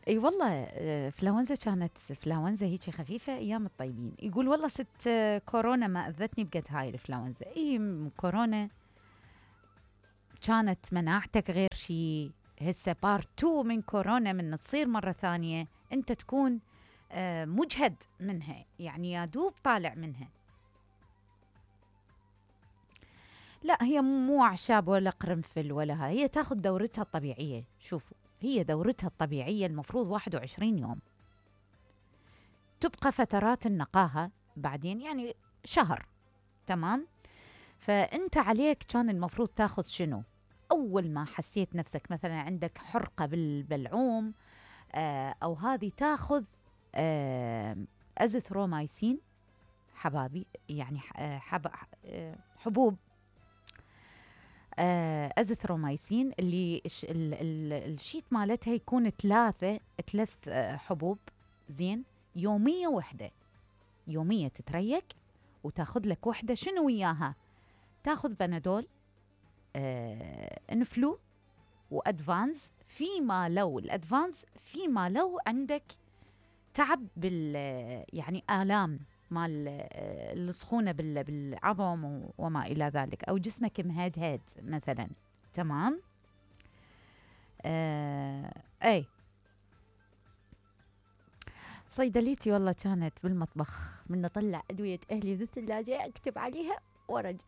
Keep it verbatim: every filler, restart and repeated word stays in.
اي والله، آه، فلاونزا كانت فلاونزا هيجي خفيفة ايام الطيبين. يقول والله ست آه، كورونا ما اذتني بقد هاي الفلاونزا. اي م- كورونا كانت مناعتك غير شي. هسه بارت تو من كورونا من تصير مرة ثانية انت تكون آه، مجهد منها، يعني يا دوب طالع منها. لا هي مو أعشاب ولا قرنفل ولا هاي، هي تاخذ دورتها الطبيعية. شوفوا، هي دورتها الطبيعية المفروض واحد وعشرين يوم، تبقى فترات النقاهة بعدين يعني شهر. تمام. فأنت عليك كان المفروض تاخذ شنو؟ أول ما حسيت نفسك مثلا عندك حرقة بالبلعوم آه أو هذه، تاخذ آه أزثرومايسين حبابي، يعني ح- آه، حب آه، حبوب آه، أزثرومايسين، اللي الش- ال- ال- الشيت مالتها يكون ثلاثة ثلاث آه، حبوب. زين. يومية وحدة، يومية تتريق وتاخذ لك وحدة. شنو وياها؟ تاخذ بنادول، آه، انفلو، وادفانز. فيما لو الادفانز فيما لو عندك تعب بال يعني آلام مال آه، السخونة بال- بالعظم و- وما إلى ذلك، أو جسمك مهدهد مثلا. تمام. آه أي صيدليتي والله كانت بالمطبخ، من أطلع أدوية أهلي بالثلاجة أكتب عليها وأرجع.